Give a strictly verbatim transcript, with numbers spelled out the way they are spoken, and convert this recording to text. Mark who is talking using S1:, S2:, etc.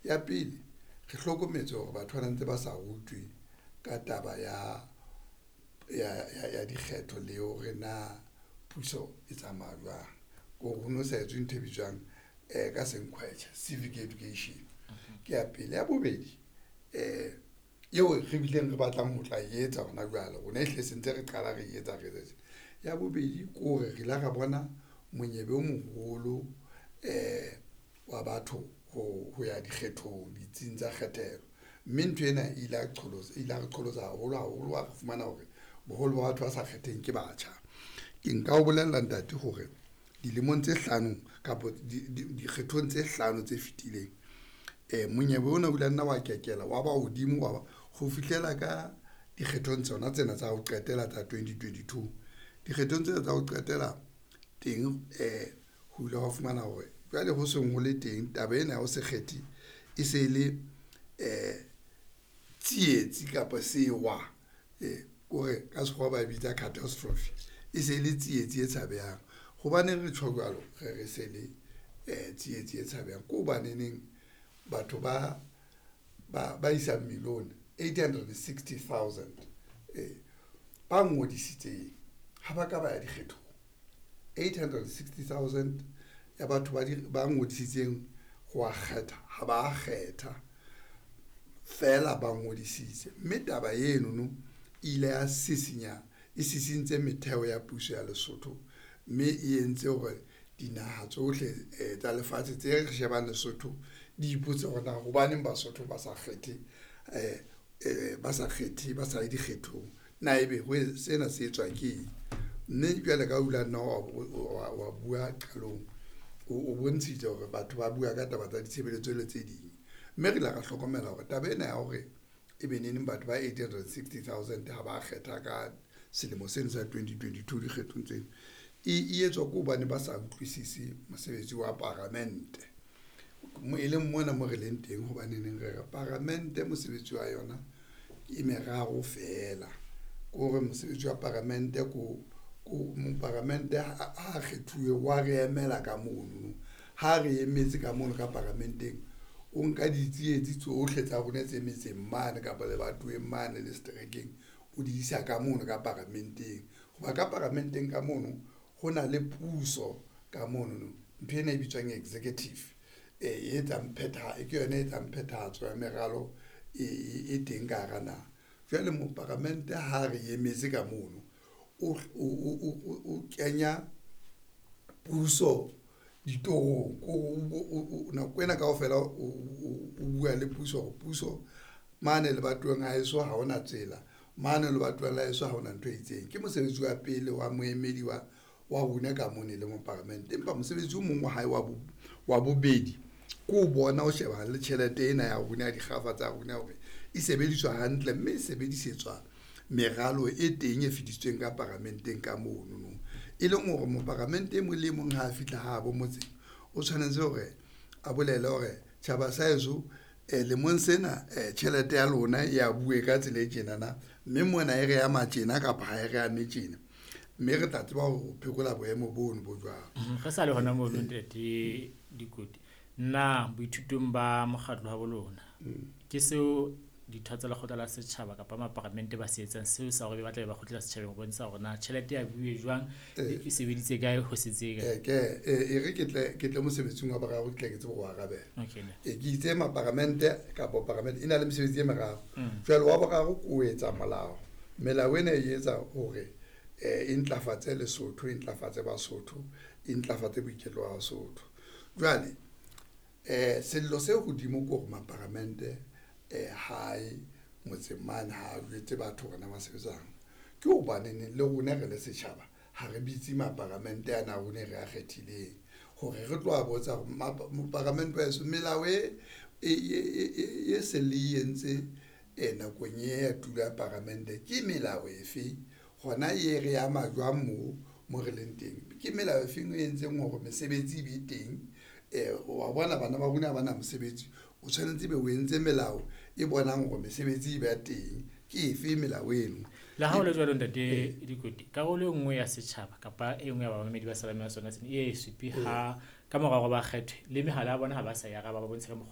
S1: Ya pele, re hlokometse hore batho ba ntse ba sa rutwe ka taba ya ya ya dikgetho le hore na puso e tsamaya jwang. Ko re ho no sa etswe ntho e bitswang ka senqwetjhe civic education. Ke ya pele. Ya bobedi, eo re bileng re batlang ho tla etsa hona jwale rona e hlile se ntse re qala re etsa re etsa. Ya bobedi ke hore re ile ra bona monyebe o moholo wa batho ho ya dikgethong ditsing tsa kgethelo, mme ntho ena e ile ya qholotsa ile ya re qholotsa haholo haholo wa re fumana hore boholo ba batho ba sa kgetheng ke batjha. Ke nka o bolella ntate hore dilemong tse hlano kapa dikgethong tse hlano tse fitileng monyebe ona o ile wa nna wa kekela wa ba hodimo wa ba ho fihlela ka dikgethong tsona tsena tsa ho qetela tsa twenty twenty two. Dikgethong tsena tsa ho qetela teng ho ile wa fumana hore jwale ho seng ho le teng taba ena ya ho se kgethe e se le tsietsi kapa sewa kore ka sekgowa ba e bitsa catastrophe. E se le tsietsi e tshabehang. Hobaneng re tjho jwalo, re re se le tsietsi e tshabehang ke hobaneneng batho ba ba ba isang million eight hundred and sixty thousand ba ngodisitseng ha ba ka ba ya dikgethong. Eight hundred and sixty thousand ya batho ba di ba ngodisitseng ho wa kgetha ha ba kgetha feela ba ngodisitse, mme taba eno no ile ya sisinya e sisintse metheo ya puso ya Lesotho, mme e entse hore dinaha tsohle tsa lefatshe tse re shebang Lesotho di ipotse hore na hobaneng Basotho ba sa kgethe ba sa kgethe ba sa ye dikgethong. Na ebe ho sena se etswa ke eng? Mme jwale ka o ile wa nna wa wa bua qalong, o bontshitse hore batho ba bua ka taba tsa ditshebeletso le tse ding. Mme re ile ra hlokomela hore taba ena ya hore e be neneng batho ba eight hundred and sixty thousand ha ba kgetha ka selemo seno sa twenty twenty two dikgethong tseno e etswa ke hobane ba sa utlwisise mosebetsi wa paramente. E leng mona mo re leng teng hobaneneng re re paramente mosebetsi wa yona e meraro feela. Ke hore mosebetsi wa paramente ko ko moparamente ha kgethuwe wa re emela ka mono. Ha re emetse ka mono ka paramenteng, o nka ditsietsi tsohle tsa rona tse metseng mane kapa lebatoweng mane le seterekeng, o di isa ka mono ka paramenteng. Hoba ka paramenteng ka mono ho na le puso ka monono ntho ena e bitswang executive e etsang phetha ke yona e etsang phethahatso ya meralo e teng ka hara naha. Jwale moparamente ha re emetse ka mono, o o kenya puso ditorong ko nako ena kaofela o bua le puso hore puso mane lebatoweng la heso ha hona tsela, mane lebatoweng la heso ha hona ntho e itseng. Ke mosebetsi wa pele wa moemedi wa wa rona ka mona e le moparamente. Empa mosebetsi o mong wa hae wa bo wa bobedi ke ho bona ho shebana le tjhelete ena ya rona ya dikgafa tsa rona hore e sebediswa hantle, mme e sebedisetswa meralo e teng e fetisitsweng ka paramenteng ka mono. E leng hore moparamente e mong le mong ha a fihla habo motseng, o tshwanetse hore a bolele hore tjhaba sa heso lemong sena tjhelete ya lona ya bue ka tsela e tjenana, mme mona e re ama tjena kapa ha e re ame tjena. Mme re tla tseba ho phekola boemo bono bo jwalo.
S2: Re sa le hona mono ntate Dikoti, na boithutong ba mokgatlo wa bo lona ke seo ditho tsa lekgotla la setjhaba kapa maparamente ba se etsang seo sa hore ba tlabe ba kgutlela setjhabeng ho bontsha hore na tjhelete ya buwe jwang, e sebeditse kae, ho setse kae?
S1: Ke e re ke tle ke tle mosebetsing wa boraro ke tle ke tsebe ho arabela.
S2: Okay.
S1: E ke itse maparamente kapa paramente e na le mesebetsi e meraro. Jwale wa boraro ke o etsa molao. Melao ena e etsa hore e ntlafatse Lesotho, e ntlafatse Basotho, e ntlafatse boiketlo ba Basotho. Jwale sello se hodimo ke hore maparamente hae motseng mane ha jwetse batho hore na ba sebetsang. Ke hobaneneng le rona re le setjhaba ha re bitse maparamente ana a rona re a kgethileng hore re tlo a botsa hore moparamente wa heso melao e e se le entse nakong e ya tulo ya paramente ke melao efe, hona e re ama jwang moo mo re leng teng? Ke melao e feng e entseng hore mesebetsi e be teng? Wa bona bana ba rona ha bana mosebetsi, o tshwanetse ebe o entse melao e bonang hore mesebetsi e ba teng. Ke efe melao eno?
S2: Le ha ho le jwalo ntate Dikoti, karolo e nngwe ya setjhaba kapa e nngwe ya bamamedi ba salame ya sona sena e supe ha ka mora hore ba kgethwe le mehala ya bona ha ba sa e araba, ba bontshe ka mokgo